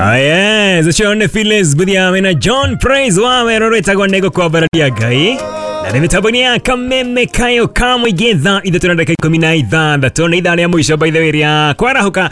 Yes, ũcio nĩ Phyllis Buthia na John Praise wa wero rwĩtagwo nĩ gũkwambararia Ngai na nĩ mĩtambo-inĩ ya kameme kayo ka mũingĩ thaa ithatũ na ndagĩka 16 nĩ ithaa rĩa mũico by the way rĩa kwarahũka.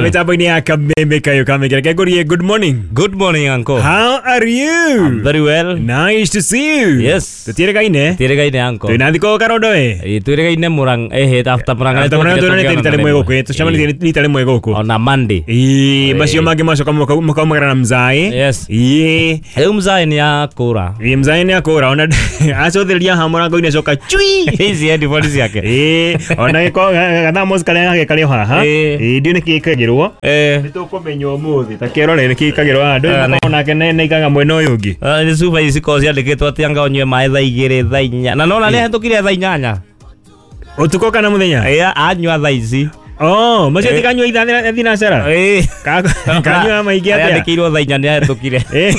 Mĩtambo-inĩ ya kameme kayo ka mũingĩ, reke ngũrie good morning. Good morning, uncle. How are you? I'm very well. Nice to see you. Yes. Tũtiĩrĩgaine. Twĩrĩgaine, uncle. Twĩna thikũ karondo we. Ĩ, twĩrĩgaine Murang'a ehe after Murang'a. After Murang'a tuonanĩte rita rĩmwe gũkũ, tũcemanĩtie rita rĩmwe gũkũ. Ona Monday. Ĩĩ, macio mangĩ macoka makaumagara na mzaĩ. Yes. Ĩĩ. Rĩu mzae nĩ akũra. Ĩĩ, mzaĩ nĩ akũra ona acũthĩrĩria haha mũrango-inĩ acoka cui. Ici headphones ciake. Ĩĩ, ona gĩko gathamos karĩa gake karĩ o haha. Ĩĩ. Ĩĩ, ndiũ nĩkĩ gĩkagĩrwo. Eh. Nĩ tũkũmenya ũmũthĩ ta kĩrore nĩkĩ gĩkagĩrwo haha. Ndũĩ Ah, makoragwo nake nĩaikaga mwena ũyũ ũngĩ. Nĩ cuba ici cikoragwo ciandĩkĩtwo atĩ anga ũnyue maĩ thaa 2, thaa 4. Na nona nĩ ahĩtũkire thaa 8. Ũtukũ kana mũthenya? Ĩ, anyua thaa ici. Oh, macio Ĩĩ. ti kanyua ithaa thinacara. Ĩ. Kanyua maingĩ atĩa? Yandĩkĩirwo thaa 4 nĩ ahĩtũkire. Ĩĩ.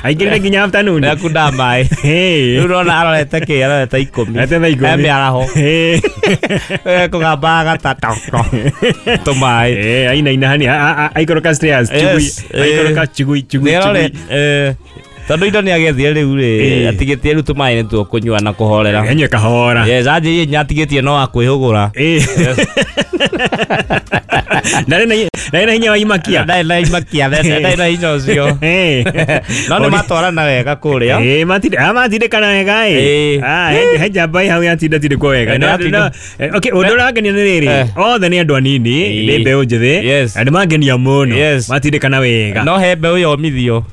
Aingĩrire nginya afternoon. Nĩ akunda maĩ. Ĩĩ. Rĩu nona arorete kĩ, arorete 10. Arorete thaa 10. E mĩaraho. Ĩĩ. Kũgambaga gatata tũmaĩ. Eh, ainaina hani aikoroka stairs chugui. Yes, eh. Aikoroka chugui chugui Nĩarore chugui. Tondũ indo nĩ agethire rĩu rĩ, Ĩĩ. atigĩtie rĩu tũmaĩ nĩ tuo kũnyua na kũhorera. Enywe kahora. Yes, anjĩrie nginya atigĩtie no wa kwĩhũgũra. Eh. Ndarĩ na hinya wa imakia. Ndarĩ na imakia, ndarĩ na hinya ũcio. Eh. No nĩ matwarana wega kũrĩa. Eh, matindĩkana wega ĩ. Ĩĩ. Ah, he njamba ĩ hau yatindatindĩkwo wega. Eh, No, nĩyatinda- no, okay, ũndũ ũrangenia nĩ rĩrĩ, Eh. othe nĩ andũ anini, Ĩĩ. nĩ mbeũ njĩthĩ, Yes. na nĩ mangenia mũno. Yes. Matindĩkana wega. No he mbeũ yomithio.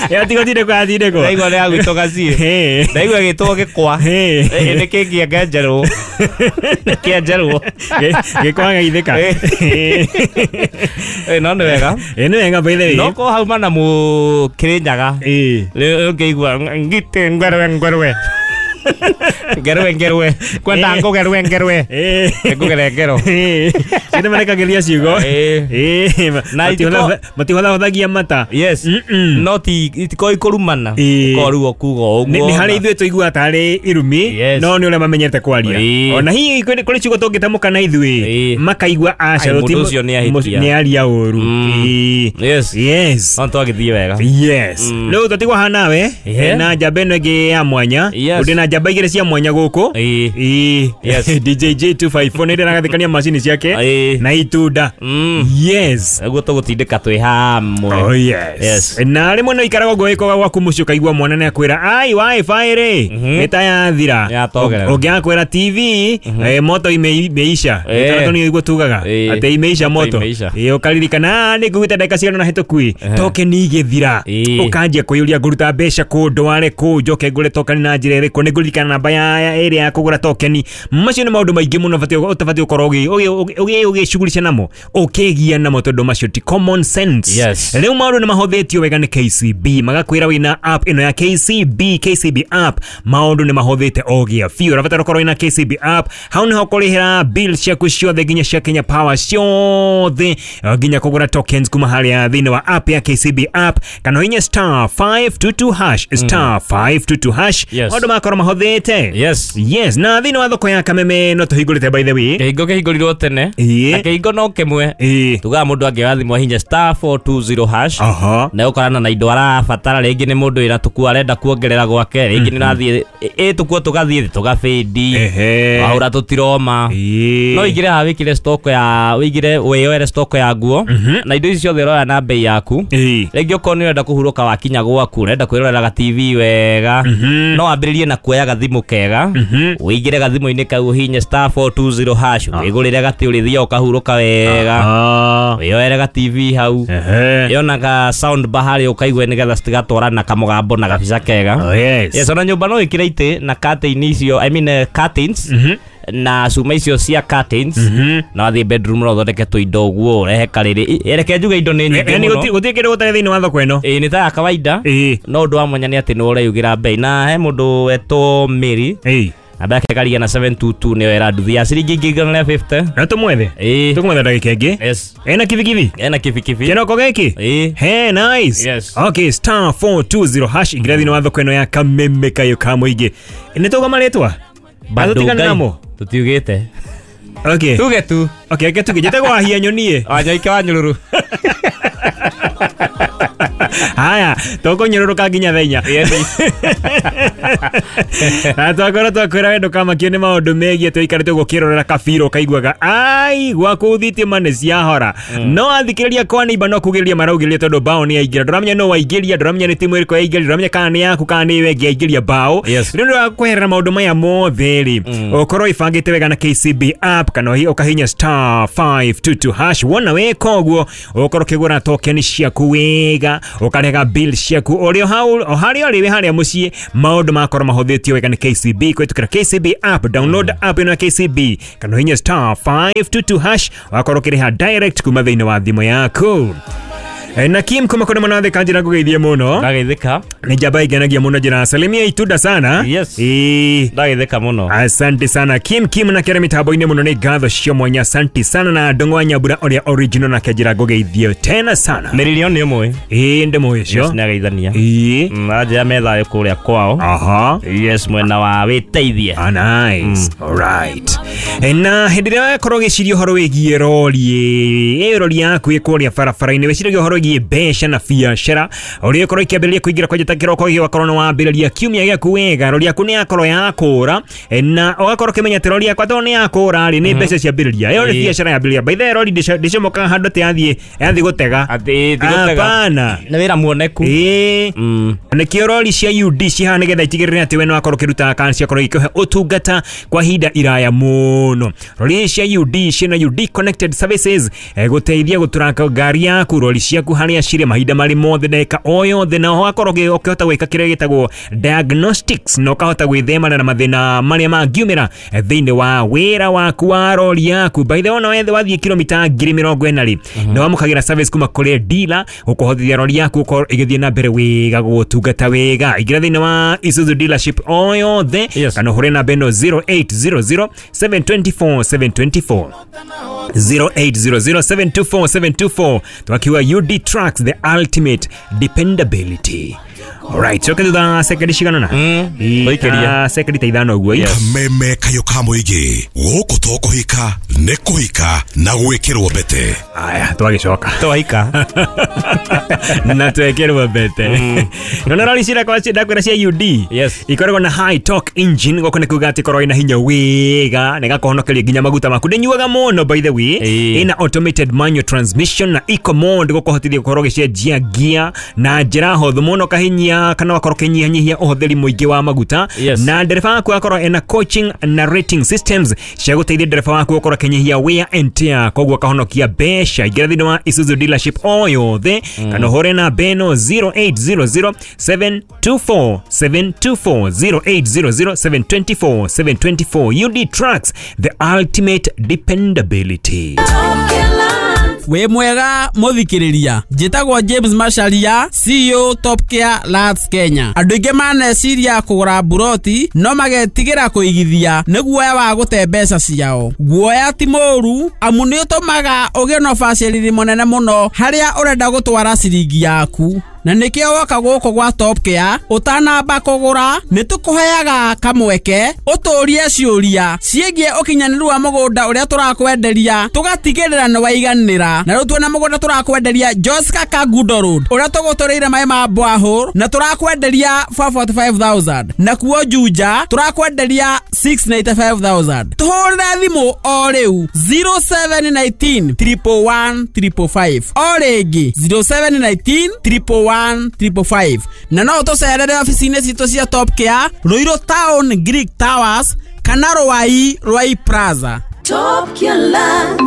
Yatigũtindĩkwo yatindĩkwo. Ndaigua nĩ yagwĩtwo gaciĩ. Eh. Ndaigua ĩgĩtwo gĩkwa. Eh. Ĩ, nĩ kĩngĩenge njerũ. Nĩ kĩenjerwo. Gĩkwa gaithĩka. Ĩ, no nĩ wega. Ĩ, nĩ wega by the way. No ko hauma na mũkĩrĩnyaga. Ĩĩ. Rĩu ũngĩigua ngitĩ ngwerwe ngwerwe. Ngerwe ngerwe. Kwenda ngũgerwe ngerwe. Ĩĩ. Ngũgere ngero. Ĩĩ. Ciana marekagĩria ciugo. Ĩĩ. Ĩĩ, Na matihũthahũthagia mata. Yes. Mm-mm. No ti itikoragwo ikũrumana. Ĩĩ. Ũkorwo rĩu ũkuga ũguo. Nĩ harĩ ithuĩ tũiguaga tarĩ irumi Yes. no nĩ ũrĩa mamenyete kwaria. Ĩĩ. Ona hihi kũrĩ ciugo tũngĩtamũka na ithuĩ Ĩĩ. makaigua aca Ai, mũndũ ũcio nĩ ahĩtia. nĩ aria ũru. Mm. Ĩĩ. Yes. Yes. No twagĩthiĩ wega. Yes. Rĩu tũtigwo haha nawe Ehe. na njamba ĩno ĩngĩ ya mwanya. Yes. Ũndĩ na njamba igĩrĩ cia mwanya gũkũ. Ĩĩ. Ĩĩ. Yes. DJ J254 nĩ ndĩragathĩkania macini ciake Ĩĩ. na itunda. Mm. Yes. Ũguo tũgũtindĩka twĩ hamwe. Oh yes. Yes. Na rĩmwe no ikaraga ũguo wĩkoga gwaku mũciĩ ũkaigua mwana nĩ akwĩra ai wifi rĩ nĩ ta yathira. Yatogerera. Ũngĩ akwĩra TV moto imeisha. Eh. Tondũ nĩ ũguo tugaga Eh. atĩ imeisha Moto moto. imeisha. Ũkaririkana "Ah, nĩ nguĩte ndagĩka cigana ũna hĩtũku ĩ tokeni igĩthira." Ĩĩ. Ũkanjia kwĩyũria ngũruta mbeca kũ ndware kũ njoke ngũre tokeni na njĩra ĩrĩkũ nĩ ngũririkana namba ya ĩrĩa ya kũgũra tokeni. Macio nĩ maũndũ maingĩ mũno ũtabatiĩ gũkorwo ũgĩcugurica namo ũkĩgia namo tondũ macio ti common sense. Yes. Rĩu maũndũ nĩ mahũthĩtio wega nĩ KCB magakwĩra wĩna app ĩno ya KCB KCB app maũndũ nĩ mahũthĩte o gĩa biũ. Ũrabatara ũkorwo wĩna KCB app hau nĩho ũkũrĩhĩra bill ciaku ciothe nginya cia Kenya Power ciothe nginya kũgũra tokens kuma harĩa thĩinĩ wa app ya KCB app kana ũhinye star 522 hash star 522 hash. Yes. Maũndũ makorwo mahũthĩte. Yes. Yes, na thĩinĩ wa thoko ya Kameme no tũhingũrĩte by the way. Kĩhingo kĩhingũrirwo tene. Ĩĩ. Na kĩhingo no kĩmwe. Ĩĩ. Tugaga mũndũ angĩoya thimũ ahinye star 420 hash. Aha. Na ũkorana na indo arabatara rĩngĩ nĩ mũndũ wĩna tũkuo arenda kuongerera gwake rĩngĩ nĩ ũrathiĩ ĩ tũkuo tũgathiĩ tũgabĩndi Ehe. wahũra tũtiroma. Ĩĩ. No ũingĩre haha wĩkĩre stock ya wĩigire wĩyoere stock ya nguo na indo ici ciothe ũroya na bei yaku. Ĩĩ. Rĩngĩ okorwo nĩ ũrenda kũhurũka wakinya gwaku ũrenda kwĩrorera ga TV wega no wambĩrĩrie na kuoya gathimũ kega ũingĩre gathimũ-inĩ kau ũhinye star 420 hash wĩgũrĩre gatĩ ũrĩthiaga ũkahurũka wega Ah. wĩyoere ga TV hau Ehe. yona ga sound bar harĩa ũkaigue nĩgetha citigatwarana kamũgambo na gabica kega. Oh, yes. Yes, ona nyũmba no ĩkĩre itĩ na curtain icio, I mean, curtains na cuma icio cia curtains na wathiĩ bedroom no ũthondeke tũindo ũguo ũrehe karĩrĩ. Reke njuge indo nĩ nyingĩ Yaani mũno. gũtirĩ kĩndũ gũtarĩ thĩinĩ wa thoko ĩno. Ĩĩ nĩ ta ya kawaida. Ĩĩ. No ũndũ wa mwanya nĩ atĩ nĩ ũreyugĩra bei na he mũndũ wetwo Mary Ĩĩ. namba yake ĩkaria na 722 nĩyo ĩra nduthi ya ciringi 150. No tũmwethe. Ĩĩ. Tũkũmwetha ndagĩka ĩngĩ. Yes. Ena kibikibi. Ena kibikibi. Kĩroko gĩkĩ. Ĩĩ. Hey, nice. Yes. Okay, star 420 hash ingĩra thĩinĩ wa thoko ĩno ya Kameme kayo ka mũingĩ. Nĩ tũgoma rĩtwa? Bado Tũtigane Ngai. namo. Tũtiugĩte. Okay. Tuge tu. Okay, reke tuge njĩtagwo Wahia Nyoni. Wanyoike wa Nyũrũrũ. Haya, tũkũnyũrũrũka nginya thaa inya. Na twakorwo twakwĩra we ndũkamakio nĩ maũndũ megiĩ tũikarĩte ũguo ũkĩrorera kabira ũkaiguaga ai gwaku thitima nĩ ciahora. No athikĩrĩria kwa neighbor no kugĩrĩria maraugĩrĩria tondũ bao nĩ yaingĩra. Ndũramenya nũ waingĩria, ndũramenya nĩ timu ĩrĩkũ yaingĩria, ndũramenya kana nĩ yaku kana nĩ ĩyo ĩngĩ yaingĩria bao. Yes. Rĩu nĩ wa kweherera maũndũ maya mothe rĩ, ũkorwo ĩbangĩte wega na KCB app kana ũkahihinya star 522 hash. Wona weka ũguo ũkorwo ũkĩgũra token ciaku wega, ũkarega bill ciaku ũrĩ o hau o harĩa ũrĩ wĩ harĩa mũciĩ, maũndũ makorwo mahũthĩtio wega nĩ KCB kũhĩtũkĩra KCB app. Download app ĩno ya KCB kana ũhihinye star 522 hash wakorwo ũkĩrĩha direct kuma thĩinĩ wa thimũ yaku. Na Kim kuma kũrĩ mũno thika njĩra ngũgeithie mũno. Ndageithĩka. Nĩ njamba ingenagia mũno njĩra salimia itunda sana. Yes. Ĩĩ. Ndageithĩka mũno. Asante sana Kim Kim na kere mitambo-inĩ mũno nĩ ngatho cio mwanya asante sana na Ndung'u wa Nyambura ũrĩa original nake njĩra ngũgeithie tena sana. Mĩrĩrio nĩ ũmwe. Ĩĩ ndĩmũĩ Yes, ũcio. nĩ ageithania. Ĩĩ. Anjĩra me thayũ kũrĩa kwao. Aha. Yes, mwena wa wĩteithie. Ah, nice. All right. Na hĩndĩ ĩrĩa wakorwo ũgĩciria ũhoro wĩgiĩ rori ĩ rori yaku ĩ kũrĩa barabara-inĩ wĩciragia ũhoro wĩgiĩ mbeca na biacara ũrĩa ĩkorwo ikĩambĩrĩria kũingĩra kwanja ta kĩroko gĩkĩ ũgakorwo nĩ wambĩrĩria kiumia gĩaku wega rori yaku nĩ yakorwo yakũra na ũgakorwo ũkĩmenya atĩ rori yakwa tondũ nĩ yakũra rĩ nĩ mbeca ciambĩrĩria ĩyo nĩ biacara yambĩrĩria. By the way rori ndĩcomokaga handũ atĩ yathiĩ gũtega. Atĩ ti gũtega. Hapana. Nĩ wĩra muoneku. Ĩĩ. Nĩkĩo rori cia UD cihana nĩgetha itigĩrĩre atĩ we nĩwakorwo ũkĩruta kana ciakorwo ikĩhe ũtungata kwa ihinda iraya mũno. Rori cia UD ciĩna UD Connected Services gũteithia gũtũraka ngari yaku rori ciaku harĩa cirĩ mahinda marĩ mothe ndagĩka o yothe na ũgakorwo ũkĩhota gwĩka kĩrĩa gĩtagwo diagnostics na ũkahota gwĩthemana na mathĩna marĩa mangiumĩra thĩinĩ wa wĩra waku wa rori yaku. By the way ona wethe wathiĩ kilomita 40,000 rĩ nĩ wamũkagĩra service kuma kũrĩ dealer gũkũhotithia rori yaku gũkorwo ĩgĩthiĩ na mbere wega gũgũtungata wega. Ingĩra thĩinĩ wa Isuzu dealership o yothe Yes. kana ũhũre namba ĩno 0800 724 724 0800 724 724 twakiwa UD Trucks, the ultimate dependability. Alright, coke thutha sekendi cigana na Tũikĩrie. Sekendi ta ithano ũguo. Yes. Kameme kayũ ka mũingĩ gũkũ to kũhika nĩ kũhika na gwĩkĩrwo mbete. Aya twagĩcoka Twaika. na twekĩrwo mbete. Nona rori cirakwa ndakwĩra cia UD Yes. ikoragwo na high torque engine gũkũ nĩ kuga atĩ korwo ĩna hinya wega na ĩgakũhonokeria nginya maguta maku ndĩnyuaga mũno by the way. Ĩĩ. Ĩna automated manual transmission na eco mode gũkũhotithia gũkorwo ũgĩcenjia gia na njĩra hũthũ mũno ũkahinyia kana ũgakorwo ũkĩnyihanyihia ũhũthĩri mũingĩ wa maguta. Yes. Na ndereba waku akorwo ena coaching na rating systems cia gũteithia ndereba waku gũkorwo akĩnyihia wear and tear koguo akahonokia mbeca. Ingĩra thĩinĩ wa Isuzu dealership o yothe kana ũhũre namba ĩno 0800 724 724 0800 724 724. UD Trucks, the ultimate dependability. Wĩ mwega mũthikĩrĩria, njĩtagwo James Macharia, CEO Top Care Lands Kenya. Andũ aingĩ maneciria kũgũra mburoti no magetigĩra kũigithia nĩ guoya wa gũte mbeca ciao. Guoya ti mũũru amu nĩ ũtũmaga ũgĩe na ũbacĩrĩri mũnene mũno harĩa ũrenda gũtwara ciringi yaku. Na nĩkĩo woka gũkũ gwa Top Care ũtanamba kũgũra nĩ tũkũheaga kamweke ũtũrie ciũria ciĩgiĩ ũkinyanĩru wa mũgũnda ũrĩa tũrakwenderia tũgatigĩrĩra nĩ waiganĩra. Na rĩu tuona mũgũnda tũrakwenderia Joska Kangundo Road ũrĩa tũgũtũrĩire maĩ ma borehole na tũrakwenderia 445,000 nakuo Juja tũrakwenderia 695,000. Tũhũrĩre thimũ o rĩu 0719 111 555 o rĩngĩ 0719 111 555 na no ũtũcerere obici-inĩ citũ cia Top Care Ruiru Town Greek Towers kana Ruai Ruai Plaza. Top Care Lands.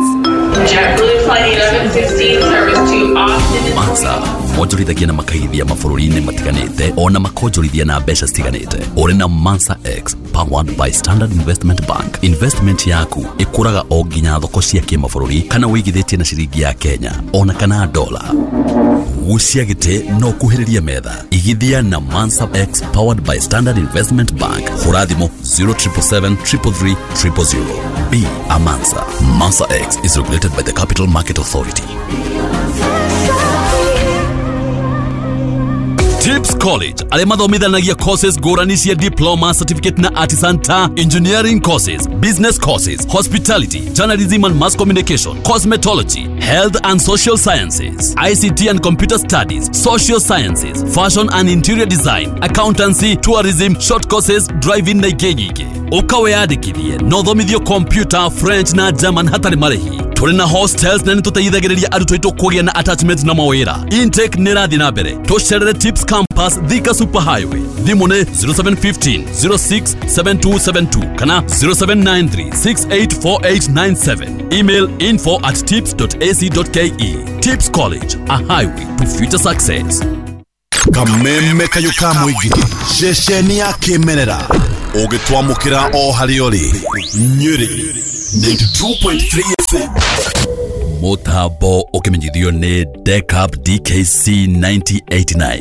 JetBlue Flight 1116 service to Austin. Mansa monjorithagia na makaithia mabũrũri-inĩ matiganĩte ona makonjorithia na mbeca citiganĩte. Ũrĩ na Mansa X powered by Standard Investment Bank. Investment yaku ĩkũraga o nginya thoko cia kĩmabũrũri kana wĩigithĩtie na ciringi ya Kenya ona kana dola. Gucia gĩtĩ no kuhĩrĩria metha. Igithia na Mansa X powered by Standard Investment Bank. Hũra thimũ 0777 333 000. Be a Mansa. Mansa X is regulated by the Capital Market Authority. Tips College arĩa mathomithanagia courses ngũrani cia diploma, certificate na artisan ta engineering courses, business courses, hospitality, journalism and mass communication, cosmetology, health and social sciences, ICT and computer studies, social sciences, fashion and interior design, accountancy, tourism, short courses, driving na ingĩ nyingĩ. Ũka wĩyandĩkithie na ũthomithio computer, French na German hatarĩ marĩhi. Tũrĩ na hostels na nĩtũteithagĩrĩria arutwo aitũ kũgĩa na attachment na mawĩra. Intake nĩ ĩrathiĩ na mbere. Tũcerere Tips Campus, Thika Super Highway. Thimũ nĩ 0715 067272 kana 0793 684897. Email info@tips.ac.ke. Tips College, a highway to future success. Kameme kayũ ka mũingĩ, ceceni ya kĩmerera ũgĩtwamũkĩra o harĩa ũrĩ. Nyĩrĩ 92.3 FM. Mũtambo ũkĩmenyithio nĩ Decap DKC 9089.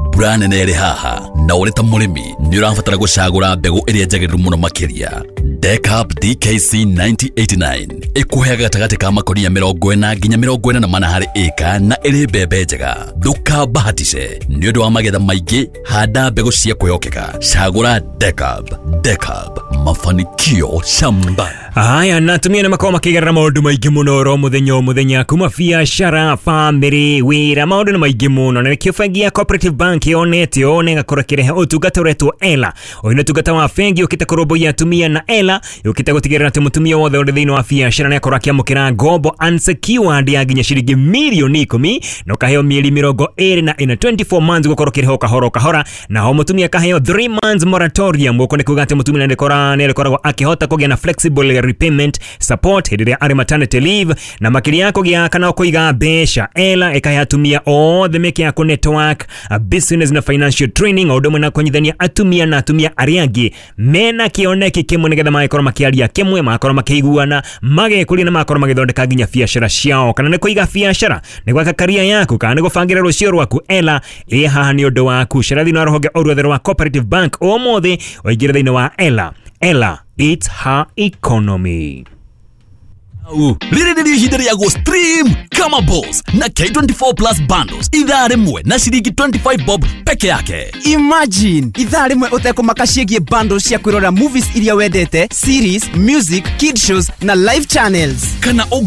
Mbura nene ĩrĩ haha na ũrĩ ta mũrĩmi nĩ ũrabatara gũcagũra mbegũ ĩrĩa njagĩrĩru mũno makĩria. Decap DKC 9089 ĩkũheaga gatagatĩ ka makonia 40 nginya 44 harĩ ĩka na ĩrĩ mbembe njega. Ndũkabahatice nĩ ũndũ wa magetha maingĩ, handa mbegũ cia kwĩhokeka. Cagũra Decap. Decap, mafanikio shamba. Haya, na atumia nĩ makoragwo makĩgerera maũndũ maingĩ mũno oro mũthenya o mũthenya, kuma biacara, famĩlĩ, wĩra, maũndũ nĩ maingĩ mũno, na nĩkĩo bengi ya Cooperative Bank yonete ũũ na ĩgakorwo ĩkĩrehe ũtungata ũretwo ELA. Ũyũ nĩ ũtungata wa bengi ũkĩte kũrũmbũiya atumia, na ELA yũkĩte gũtigĩrĩra atĩ mũtumia wothe ũrĩ thĩinĩ wa biacara nĩakorwo akĩamũkĩra ngombo unsecured ya nginya ciringi mirioni 10 na ũkaheo mĩeri 24, 24 months gũkorwo ũkĩrĩha o kahora o kahora, naho mũtumia akaheo 3 months moratorium. Gũkũ nĩ kuga atĩ mũtumia nĩarĩkoragwo akĩhota kũgĩa na flexible repayment support hĩndĩ ĩrĩa arĩ maternity leave, na makĩria ya kũgĩa kana kũiga mbeca, ELA ĩkahe atumia othe mĩeke ya kũ-network, business na financial training, o ũndũ ũmwe na kũnyitithania atumia na atumia arĩa angĩ mena kĩoneki kĩmwe, nĩgetha magakorwo makĩaria kĩmwe, magakorwo makĩiguana, magekũria na magakorwo magĩthondeka nginya biacara ciao. Kana nĩ kũiga biacara, nĩ gwaka karia yaku, kana nĩ gũbangĩra rũciũ rwaku, ELA ĩ haha nĩ ũndũ waku. Cera thĩinĩ wa rũhonge o ruothe rwa Cooperative Bank ũmũthĩ ũingĩre thĩinĩ wa ELA. ELA, it's her economy. Rĩrĩ nĩrĩo ihinda rĩa gũ stream kama boss na K24 Plus bundles ithaa rĩmwe na ciringi 25 bob peke yake. Imagine ithaa rĩmwe ũtekũmaka ciĩgiĩ bundles cia kwĩrora movies iria wendete, series, music, kid shows na live channels. Kana